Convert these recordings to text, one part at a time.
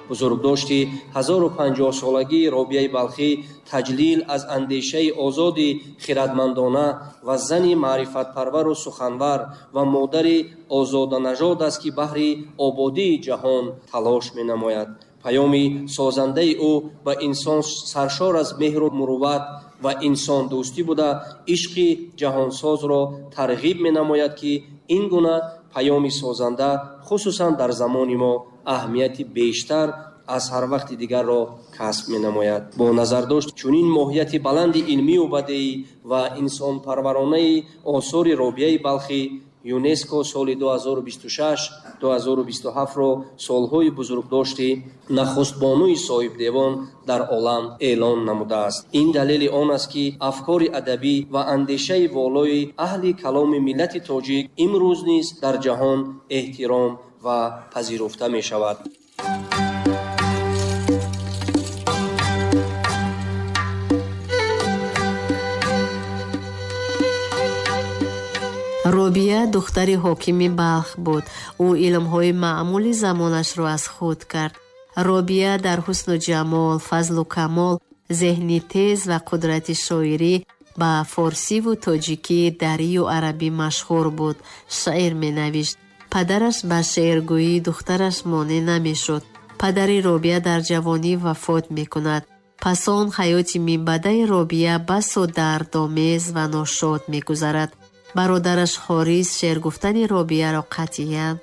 Бузургдошти 1050-солагии Робияи Балхӣ таҷлил аз андешаи озоди хирадмандона ва зани маърифатпарвару суханвар ва модари озоданажод аст, ки баҳри ободии ҷаҳон талош менамояд. Паёми созандаи ӯ ба инсон саршор аз меҳру мурувват ва инсондӯстӣ буда, ишқи ҷаҳонсозро тарғиб менамояд, ки ин гуна паёми созанда хусусан дар замони мо аҳамияти бештар аз ҳар вақти дигарро касб менамояд. Бо назардошт чунин моҳияти баланди илмию бадеӣ ва инсонпарваронаи осори Робияи Балхӣ, ЮНЕСКО соли 2026-2027-ро солҳои бузургдошти нахустбонуи соҳибдевон дар олам эълон намудааст. Ин далели он аст, ки афкори адабӣ ва андешаи волои аҳли каломи миллати тоҷик имрӯз низ дар ҷаҳон эҳтиром ва пазируфта мешавад. Робия духтари ҳокими Балх буд. Ӯ илмҳои маъмули замонашро аз худ кард. Робия дар ҳусну ҷамол, фазлу камол, зеҳни тез ва қудрати шоирӣ ба форсиву тоҷикӣ, дарию арабӣ машҳур буд. Шеър менавишт. Падараш ба шеъргӯии духтараш монеъ намешуд. Падари Робия дар ҷавонӣ вафот мекунад. Пас он ҳаёти минбаъдаи Робия басо дардомез ва ношод мегузарад. Бародараш Ҳорис шеъргуфтани Робияро қатъиян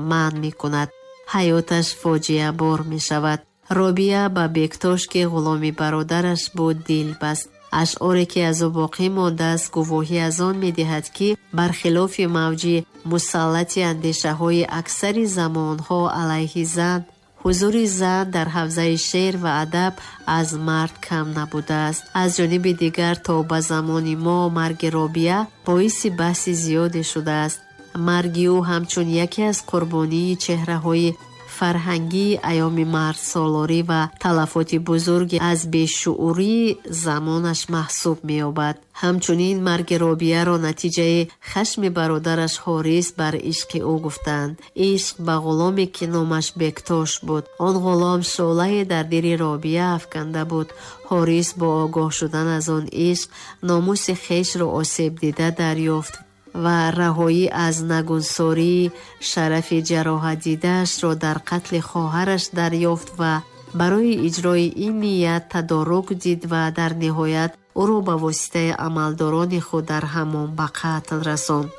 манъ мекунад. Ҳаёташ фоҷиабор мешавад. Робия ба Бектош, ки ғуломи бародараш буд, дил баст. Ашъоре, ки аз ӯ боқӣ мондааст, гувоҳӣ аз он медиҳад, ки бархилофи мавҷи мусаллати андешаҳои аксари замонҳо алайҳи зан, ҳузури зан дар ҳавзаи шеър ва адаб аз мард кам набудааст. Аз ҷониби дигар, то ба замони мо марги Робия боиси баҳси зиёде шудааст. Марги ӯ ҳамчун яке аз қурбонии чеҳраҳои фарҳангии айёми мардсолорӣ ва талафоти бузурги аз бешуурии замонаш маҳсуб меёбад. Ҳамчунин марги Робияро натиҷаи хашми бародараш Ҳорис бар ишқи ӯ гуфтанд. Ишқ ба ғуломе, ки номаш Бектош буд. Он ғулом шӯълае дар дили Робия афканда буд. Ҳорис бо огоҳ шудан аз он ишқ номуси хешро осеб дида дарёфт ва раҳоӣ аз нагунсории шарафи ҷароҳатдидаашро дар қатли хоҳараш дарёфт ва барои иҷрои ин ният тадорук дид ва дар ниҳоят ӯро ба воситаи амалдорони худ дар ҳамом ба қатл расонд.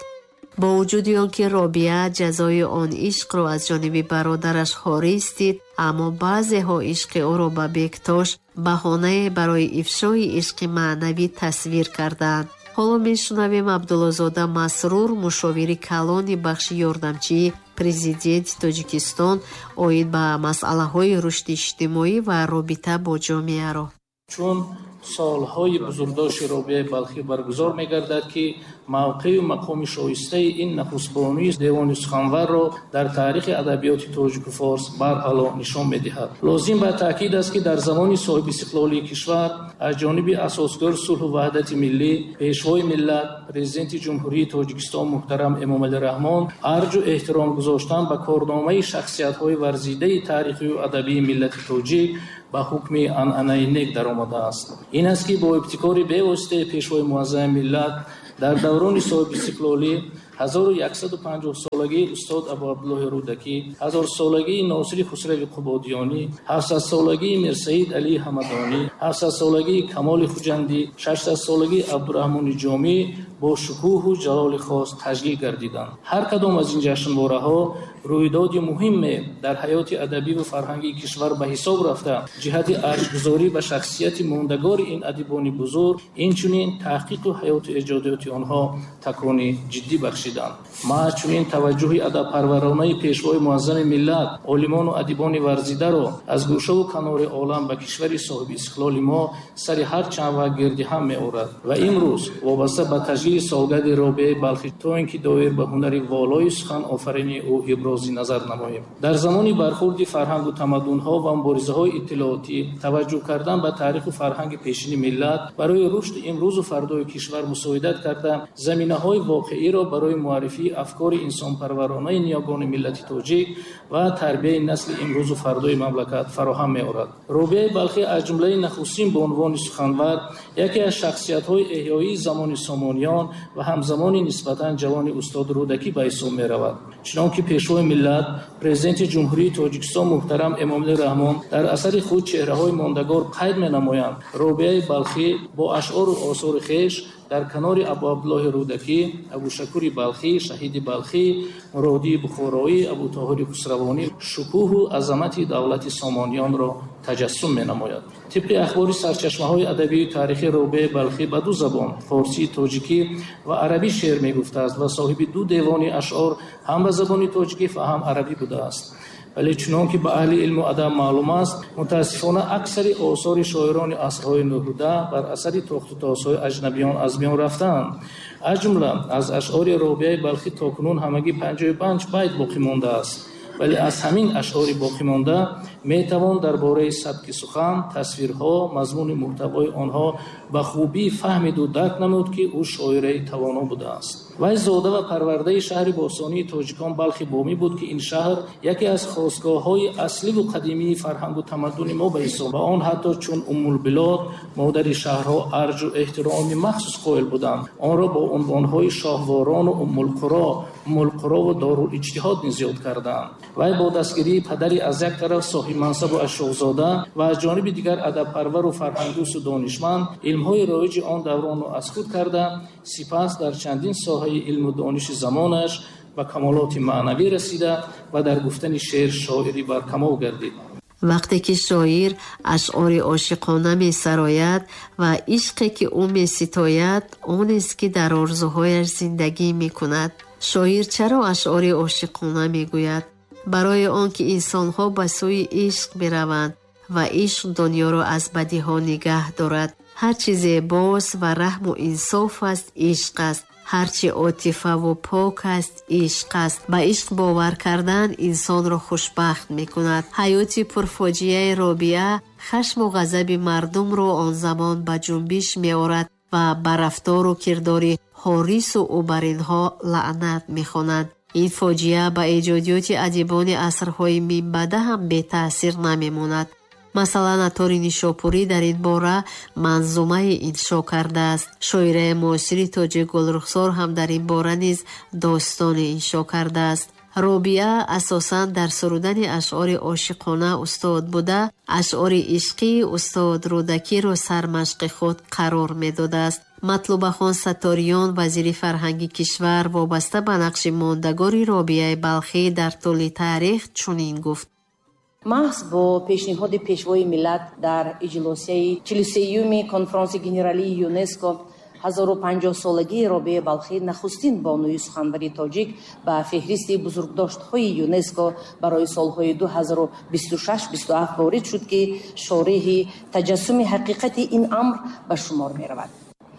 Бо вуҷуди он ки Робия ҷазои он ишқро аз ҷониби бародараш Ҳорис дид, аммо баъзеҳо ишқи ӯро ба Бектош баҳонае барои ифшои ишқи маънавӣ тасвир карданд. Ҳоло мешунавем Абдуллозода Масрур, мушовири калони бахши ёрдамчии президенти Тоҷикистон оид ба масъалаҳои рушди иҷтимоӣ ва робита бо ҷомеаро. Чун солҳои бузургдошти Робияи Балхӣ баргузор мегардад, ки мавқею мақоми шоистаи ин нахустбонуи девони суханварро дар таърихи адабиёти тоҷику форс барҳало нишон медиҳад. Лозим ба таъкид аст, ки дар замони соҳибистиқлолии кишвар аз ҷониби асосгузори сулҳу ваҳдати миллӣ, пешвои миллат, президенти Ҷумҳурии Тоҷикистон муҳтарам Эмомалӣ Раҳмон арҷу эҳтиром гузоштан ба корномаи шахсиятҳои варзидаи таърихию адабии миллати тоҷик ба ҳукми анъанаи нек даромадааст. Ин аст, ки бо ибтикори бевоситаи пешвои муаззами миллат дар даврони соҳибистиқлолӣ 1150-солагии устод Абу Абдуллоҳи Рӯдакӣ, 1000-солагии Носири Хусрави Қубодиёнӣ, 700-солагии Мирсаид Алии Ҳамадонӣ, 700-солагии Камоли Хуҷандӣ, 600-солагии Абдураҳмони Ҷомӣ бо шукӯҳу ҷалоли хос таҷлил гардиданд. Ҳар кадом аз ин ҷашнвораҳо рӯйдоди муҳиме дар ҳаёти адабӣ ва фарҳангии кишвар ба ҳисоб рафта, ҷиҳати арҷгузорӣ ба шахсияти мондагори ин адибони бузург, инчунин таҳқиқу ҳаёту эҷодиёти онҳо такони ҷиддӣ бахшиданд. Маҳз чунин таваҷҷӯҳи адабпарваронаи пешвои муаззами миллат, олимону адибони варзидаро аз гӯшаву канори олам ба кишвари соҳиби истиқлоли мо сари ҳар чанд вақт гирди ҳам меорад ва имрӯз вобаста ба таҷлили Таҷлили солгарди Робиаи Балхӣ, то ин ки доир ба ҳунари волои суханофаринии ӯ ибрози назар намоем. Дар замони бархурди фарҳангу тамаддунҳо ва муборизаҳои иттилоотӣ, таваҷҷӯҳ кардан ба таъриху фарҳанги пешини миллат барои рушди имрӯзу фардои кишвар мусоидат карда, заминаҳои воқеиро барои муаррифии афкори инсонпарваронаи ниёгони миллати тоҷик ва тарбияи насли имрӯзу фардои мамлакат фароҳам меорад. Робиаи Балхӣ аз ҷумлаи нахустин бонувони суханвар, яке аз шахсиятҳои эҳёии замони Сомониён ва ҳамзамони нисбатан ҷавони устод Рӯдакӣ ба ҳисоб меравад. Чунон ки Пешвои миллат, Президенти Ҷумҳурии Тоҷикистон муҳтарам Эмомалӣ Раҳмон дар асари худ «Чеҳраҳои мондагор» қайд менамоянд, Робиаи Балхӣ бо ашъору осори хеш дар канори Абуабдуллоҳи Рӯдакӣ, Абушакури Балхӣ, Шаҳиди Балхӣ, Муродии Бухороӣ, Абутоҳири Хусравонӣ шукӯҳу азамати давлати Сомониёнро таҷассум менамояд. Тибқи ахбори сарчашмаҳои адабию таърихӣ, Робиаи Балхӣ ба ду забон, форсии тоҷикӣ ва арабӣ, шеър мегуфтааст ва соҳиби ду девони ашъор ҳам ба забони тоҷикӣ ва ҳам арабӣ будааст. Вале чунон ки ба аҳли илму адаб маълум аст, мутаассифона, аксари осори шоирони асрҳои нуҳуда бар асари тохтутозҳои аҷнабиён аз миён рафтаанд. Аз ҷумла аз ашъори Робиаи Балхӣ то кунун ҳамагӣ 55 байт боқӣ мондааст. Вале аз ҳамин ашъори боқимонда метавон дар бораи сабки сухан, тасвирҳо, мазмуни муҳтавои онҳо ба хубӣ фаҳмиду дарк намуд, ки ӯ шоираи тавоно будааст. Вай зода ва парвардаи шаҳри бостонии тоҷикон Балхи Бомӣ буд, ки ин шаҳр яке аз хостгоҳҳои асливу қадимии фарҳангу тамаддуни мо ба ҳисоб ва он ҳатто чун Уммулбилод, модари шаҳрҳо, арҷу эҳтироми махсус қоил буданд. Онро бо унвонҳои Шоҳворону Уммулқурову Дорулиҷтиҳод низ ёд карданд. Вай бо дастгирии падари аз як тараф соҳибмансабу ашрофзода ва аз ҷониби дигар адабпарвару фарҳангдӯсту донишманд илмҳои роиҷи он давронро аз худ карда, сипас дар чандин соҳаи илму дониши замонаш ба камолоти маънавӣ расида ва дар гуфтани шеър шоири баркамол гардид. Вақте ки шоир ашъори ошиқона месарояд ва ишқе ки ӯ меситояд, онест ки дар орзуҳояш зиндагӣ мекунад. Шоир чаро ашъори ошиқона мегӯяд? Барои он ки инсонҳо ба сӯи ишқ мераванд ва ишқ дунёро аз бадиҳо нигаҳ дорад. Ҳар чи зебост ва раҳму инсоф аст, ишқ аст. Ҳарчи отифаву пок аст, ишқ аст. Ба ишқ бовар кардан инсонро хушбахт мекунад. Ҳаёти пурфоҷиаи Робиа хашму ғазаби мардумро он замон ба ҷунбиш меорад ва ба рафтору кирдори ҳорису ӯ бар инҳо лаънат мехонанд. Ин фоҷиа ба эҷодиёти адибони асрҳои минбаъда ҳам бетаъсир намемонад. Масалан, Аттори Нишопурӣ дар ин бора манзумае иншо кардааст. Шоираи муосири тоҷик Гулрухсор ҳам дар ин бора низ достоне иншо кардааст. Робиа асосан дар сурудани ашъори ошиқона устод буда, ашъори ишқии устод Рӯдакиро сармашқи худ қарор медодааст. Матлубахон Сатториён, вазири фарҳанги кишвар, вобаста ба нақши мондагори Робиаи Балхӣ дар тӯли таърих чунин гуфт: Маҳз бо пешниҳоди Пешвои миллат дар иҷлосияи 43-юми Конфронси генералии ЮНЕСКО 1050-солагии Робиаи Балхӣ, нахустин бонуи суханвари тоҷик, ба феҳристи бузургдоштҳои ЮНЕСКО барои солҳои 2026-27 ворид шуд, ки шореҳи таҷассуми ҳақиқати ин амр ба шумор меравад.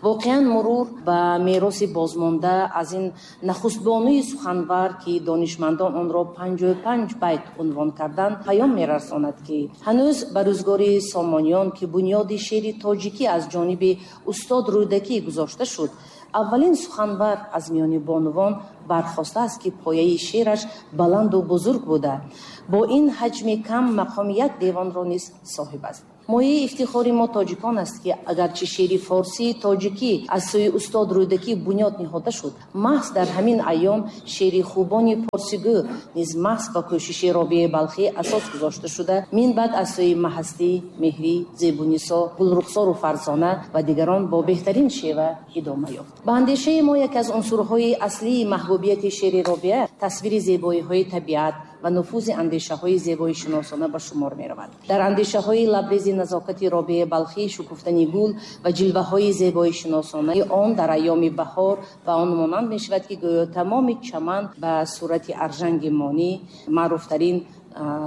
Воқеан, мурур ба мероси бозмонда аз ин нахустбонуи суханвар, ки донишмандон онро 55 байт унвон карданд, паём мерасонад, ки ҳанӯз ба рӯзгори Сомониён, ки бунёди шеъри тоҷикӣ аз ҷониби устод Рӯдакӣ гузошта шуд, аввалин суханвар аз миёни бонувон бархостааст, ки пояи шеъраш баланду бузург буда, бо ин ҳаҷми кам мақоми як девонро низ соҳиб аст. Мояи ифтихори мо тоҷикон аст, ки агарчи шеъри форсии тоҷикӣ аз сӯи устод Рӯдакӣ бунёд ниҳода шуд, маҳз дар ҳамин айём шеъри хубони порсигӯ низ маҳз ба кӯшиши Робиаи Балхӣ асос гузошта шуда, мин баъд аз сӯи Маҳастӣ, Меҳрӣ, Зебунисо, Гулрухсору Фарзона ва дигарон бо беҳтарин шева идома ёфт. Ба андешаи мо, яке аз унсурҳои аслии маҳбубияти шеъри Робиа тасвири зебоиҳои табиат ва нуфузи андешаҳои зебоишиносона ба шумор меравад. Дар андешаҳои лабрези назокати Робиаи Балхӣ шукуфтани гул ва ҷилваҳои зебоишиносонаи он дар айёми баҳор ба он монанд мешавад, ки гӯё тамоми чаман ба сурати аржанги монӣ, маъруфтарин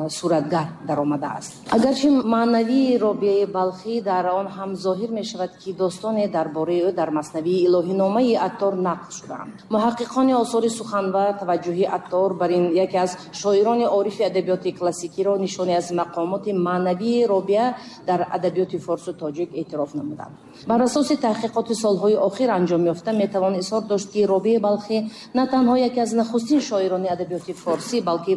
суратгар даромадааст. Агарчи маънавии Робиаи Балхӣ дар он ҳам зоҳир мешавад, ки достоне дар бораи ӯ дар маснавии илоҳиномаи Аттор нақл шудаанд. Муҳаққиқони осори суханвар таваҷҷӯҳи Аттор бар ин яке аз шоирони орифи адабиёти классикиро нишоне аз мақомоти маънавии Робиа дар адабиёти форсу тоҷик эътироф намуданд. Бар асоси таҳқиқоти солҳои охир анҷом ёфта метавон изҳор дошт, ки Робиаи Балхӣ на танҳо яке аз нахустин шоирони адабиёти форсӣ, балки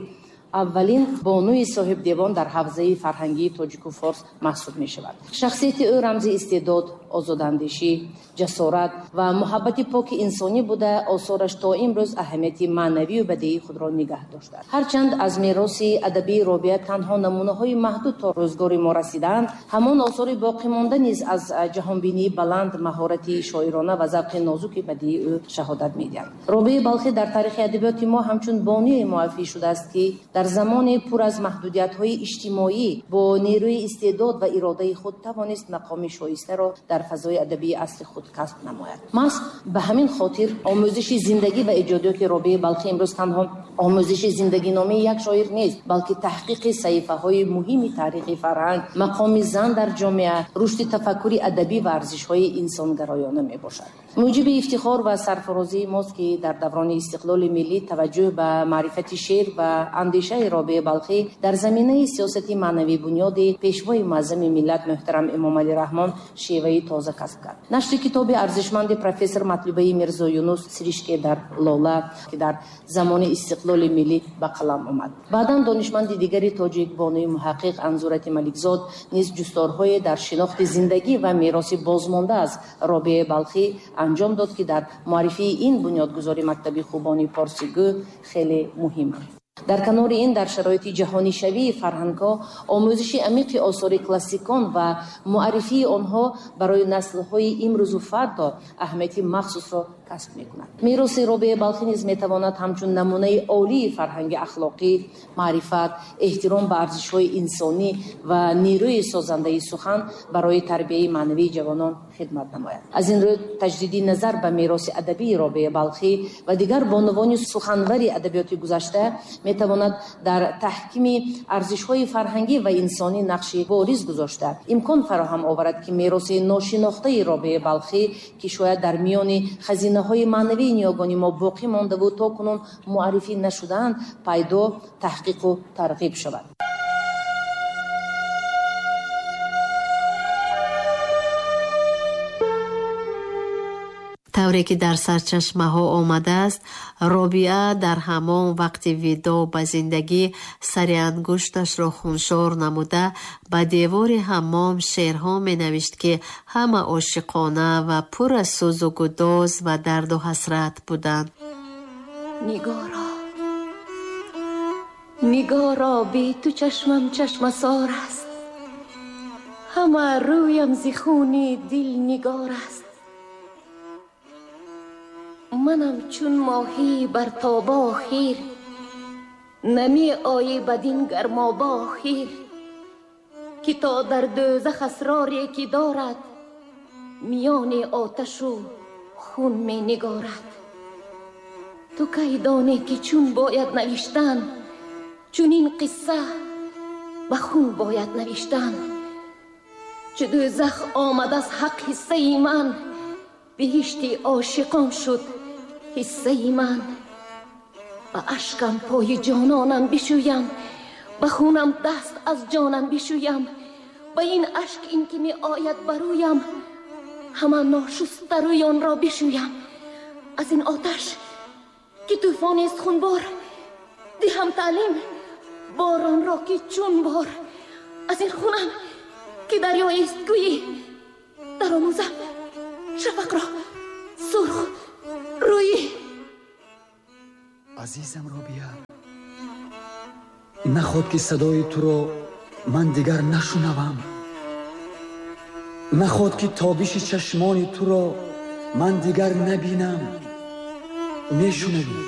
аввалин бонуи соҳибдевон дар ҳавзаи фарҳангии тоҷику форс маҳсуб мешавад. Шахсияти ӯ рамзи истеъдод, озодандешӣ, ҷасорат ва муҳаббати поки инсонӣ буда, осораш то имрӯз аҳамияти маънавию бадиии худро нигаҳ доштааст. Ҳарчанд аз мероси адабии Робиа танҳо намунаҳои маҳдуд то рӯзгори мо расидаанд, ҳамон осори боқимонда низ аз ҷаҳонбинии баланд, маҳорати шоирона ва завқи нозуки бадиии ӯ шаҳодат медиҳанд. Робиаи Балхӣ дар таърихи адабиёти мо ҳамчун бонуе муаррифӣ шудааст, ки дар замони пур аз маҳдудиятҳои иҷтимоӣ бо нерӯи истеъдод ва иродаи худ тавонист мақоми шоистаро дар фазои адабии асри худ касб намояд. Маҳз ба ҳамин хотир омӯзиши зиндагӣ ва эҷодиёти Робиаи Балхӣ имрӯз танҳо омӯзиши зиндагиномаи як шоир нест, балки таҳқиқи саҳифаҳои муҳими таърихи фарҳанг, мақоми зан дар ҷомеа, рушди тафаккури адабӣ ва арзишҳои инсонгароёна мебошад. Муҷиби ифтихор ва сарфарозии мост, ки дар даврони истиқлоли миллӣ таваҷҷӯҳ ба маърифати шеър ва андешаи Робиаи Балхӣ дар заминаи сиёсати маънавии бунёди пешвои муаззами миллат муҳтарам Эмомалӣ Раҳмон шеваи тоза касб кард. Нашри китоби арзишманди профессор Матлубаи Мирзо Юнус «Сиришке дар лола», ки дар замони истиқлоли миллӣ ба қалам омад. Баъдан донишманди дигари тоҷик, бонуи муҳаққиқ Анзурати Маликзод низ ҷустторҳое дар шинохти зиндагӣ ва мероси бозмонда аз Робиаи Балхӣ анҷом дод, ки дар муаррифии ин бунёдгузори мактаби хубони порсигӯ хеле муҳим аст. Дар канори ин, дар шароити ҷаҳонишавии фарҳангҳо, омӯзиши амиқи осори классикон ва муаррифии онҳо барои наслҳои имрӯзу фардо аҳамияти махсусро касб мекунад. Мероси Робиаи Балхӣ низ метавонад ҳамчун намунаи олии фарҳанги ахлоқӣ, маърифат, эҳтиром ба арзишҳои инсонӣ ва нерӯи созандаи сухан барои тарбияи маънавии ҷавонон хидмат намояд. Аз ин рӯ таҷдиди назар ба мероси адабии Робиаи Балхӣ ва дигар бонувони суханвари адабиёти гузашта метавонад дар таҳкими арзишҳои фарҳангӣ ва инсонӣ нақши бориз гузошта, имкон фароҳам оварад, ки мероси ношинохтаи Робиаи Балхӣ, ки шояд дар миёни хазинаҳои маънавии ниёгони мо боқӣ мондаву то кунун муаррифӣ нашудаанд, пайдо, таҳқиқу тарғиб шавад. Тавре ки дар сарчашмаҳо омадааст, Робиа дар ҳамон вақти видоъ ба зиндагӣ сари ангушташро хуншор намуда ба девори ҳаммом шеърҳо менавишт, ки ҳама ошиқона ва пур аз сӯзу гудоз ва дарду ҳасрат буданд. Нигоро, нигоро, бе ту чашмам чашмасор аст, ҳама рӯям зи хуни дил нигор аст. Манам чун моҳӣ бар тобо хир, нами оӣ бадин гармобо хир, ки то дар дӯзах асроре ки дорад, миёни оташу хун менигорад. Ту кай донӣ ки чун бояд навиштан, чунин қисса ба хун бояд навиштан. Чу дӯзах омад аз ҳақ ҳиссаи ман, биҳишти ошиқон шуд ҳиссаи ман. Ба ашкам пои ҷононам бишӯям, ба хунам даст аз ҷонам бишӯям. Ба ин ашк ин ки меояд барӯям, ҳама ношуста рӯёнро бишӯям. Аз ин оташ ки тӯфонест хунбор, диҳам таълим боронро ки чун бор. Аз ин хунам ки дарёест гӯйӣ, даромӯзам шафақро сурх рӯйӣ. Азизам Робиа, наход ки садои туро ман дигар нашунавам, наход ки тобиши чашмони туро ман дигар набинам. Мешунавӣ?